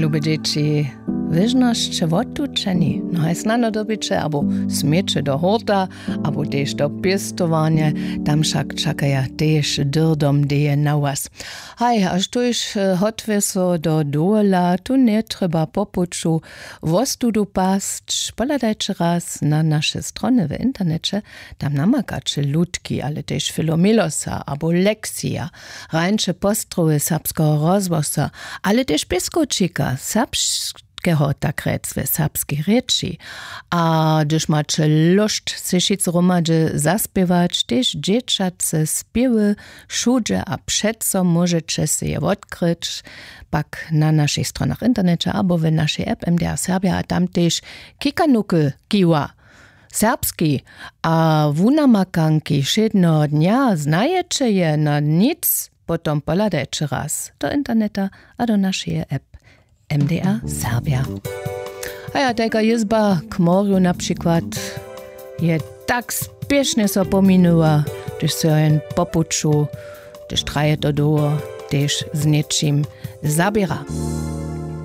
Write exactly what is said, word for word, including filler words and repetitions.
Lube dźěći, wěžnosće wotłučeni, no haj snano dyrbiće abo směće do horta, abo tež do pěstowarnje. Tam wšak čakaja tež dyrdom deje na was. Haj, a štóž hotwje so do dowola, tu njetrjeba po puću wostudu pasć. Pohladajće raz na naše strony w interneće. Tam namakaće lutki, ale tež filomelosa abo leksija, hrańše postrowy serbskeho rozhłosa, ale tež pěskowčika serbskeho, tak rjec w serbskej rěči. A hdyž maće lóšt sej wšitcy hromadźe zaspěwać, tež dźěćace spěwy wšudźe a přeco móžeće sej je wotkryć pak na našich stronach w interneće abo w našej app MDR Serbia, a tam tež kikanuky kiwa serbski a wunamakanki wšědneho dnja. Znajeće je na nic, potom pohladajće raz do interneta a do našeje app MDR Serbia. A ja, tajka jězba k morju na přikład je tak spěšnje so pominyła, hdyž so jen po puću, hdyž traje to dołho, tež z něčim zaběra.